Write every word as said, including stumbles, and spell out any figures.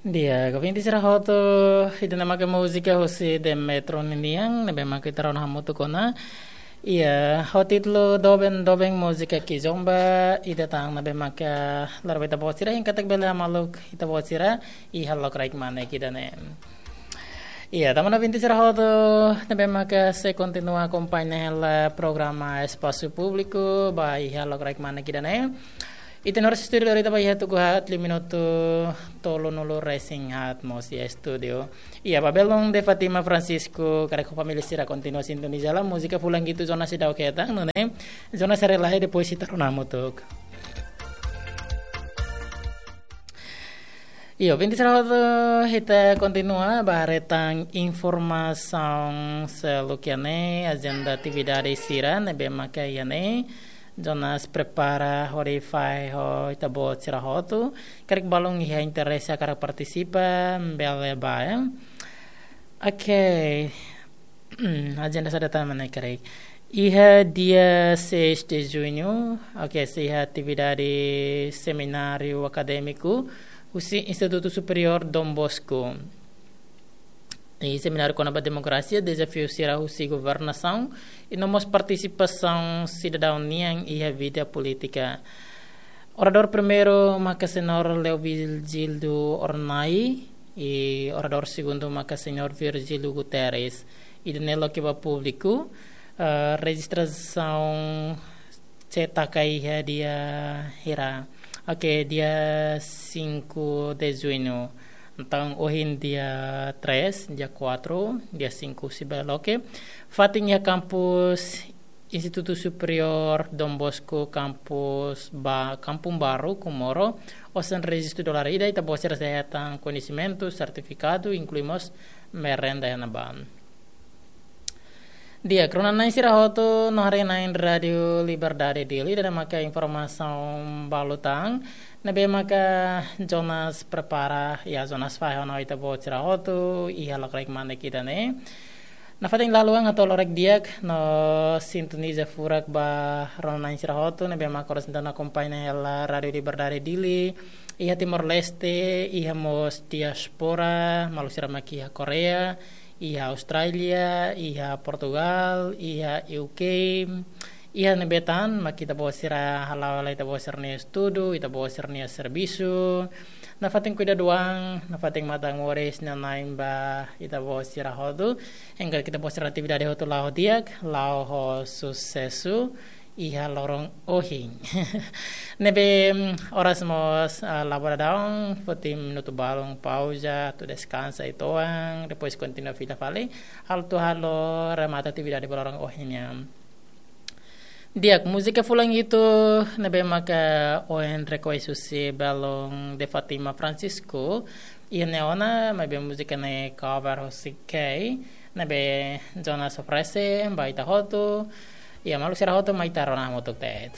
Di'ak, ouvinte sira hotu, ida-ne'e maka múzika husi Demetro ninian, ne'ebé maka ita rona hamutuk ona. Iha, ho títulu Doben Doben, múzika Kizomba, ida tan ne'ebé maka lori ba ita-boot sira, hein katak bele hamaluk ita-boot sira iha lokraik mane ida-ne'e. Iha, tanba ouvinte sira hotu ne'ebé maka sei kontinua akompaña hela programa Espasu Públiku ba iha lokraik mane ida-ne'e. Ita-nia oras estúdiu lori tama iha tuku haat, liu minutu tolunulu resin haat mós iha estúdiu. Iha, ba belun De Fátima Francisco, karik família sira kontinua sintoniza hela múzika fulan hitu Jonas seidauk hetan, nune'e Jonas haree lai, depois ita rona hamutuk. Iha, ouvinte sira hotu, ita kontinua ba haree tan informasaun seluk iha ne'e, ajenda atividade sira ne'ebé maka iha ne'e. Jonas prepara hodi fahe ho ita-boot sira hotu. Karik balun iha interese hakarak partisipa, bele bá, ya. Oke. Ajenda saida tan mak ne'e karik. Iha dia seis de junho, oke, sei iha atividade semináriu akadémiku husi Institutu Superiór Dom Bosco. I semináriu kona-ba demokrasia, dezafiu sira husi governasaun, i no mós partisipasaun sidadaun nian iha vida polítika. Oradór primeiru maka Señór Leovigildo Hornai, i oradór segundu maka Señór Virgílio Guterres. Ida-ne'e loke ba públiku, eh, rejistrasaun sei taka iha dia hira. Oke, dia cinco de junho. Entaun, ohin dia três, dia quatro, dia cinco sei bá loke. Fatin iha kampus Institutu Superiór Dom Bosco, kampus ba, Kampung Baru, Comoro, osan rejistu dolar ida, ita-boot sira sei hetan koñesimentu, sertifikadu, inklui mós merenda iha ne'ebá. Di'ak, rona-na'in sira hotu, no haree-na'in Rádio Liberdade Dili, ida-ne'e maka informasaun balu tan ne'ebé maka Jonas prepara, ya, Jonas fahe ona ho ita-boot sira hotu iha lokraik mane ida-ne'e. Nafatin lalu an hato'o lokraik di'ak no sintoniza furak ba rona-na'in sira hotu ne'ebé maka oras ida-ne'e akompaña hela Rádio Liberdade Dili, iha Timor-Leste, iha mós diáspora, maluk sira mak iha Koreia, iha Austrália, iha Portugal, iha U K, iha ne'ebé tan mak ita-boot sira hala'o hela ita-boot sira-nia estudu, ita-boot sira-nia servisu. Nafatin kuidadu an, nafatin matan-moris, inan-aman ba ita-boot sira hotu. Hodi ita-boot sira-nia atividade hotu la'o di'ak, la'o ho susesu iha loron ohin. Ne'ebé, mm, oras mós, ah, la ba dadaun, foti minutu balun pauza, atu deskansa uitoan, depois kontinua fila fali, atu halo remata atividade ba loron ohin nian. Di'ak, múzika fulan hitu ne'ebé maka ohin rekolla husi belun De Fátima Francisco, iha ne'e ona, maibé múzika ne'e cover husi Kay, ne'ebé Jonas oferese ba ita hotu, iha maluk sira hotu mai ita rona hamutuk de'it.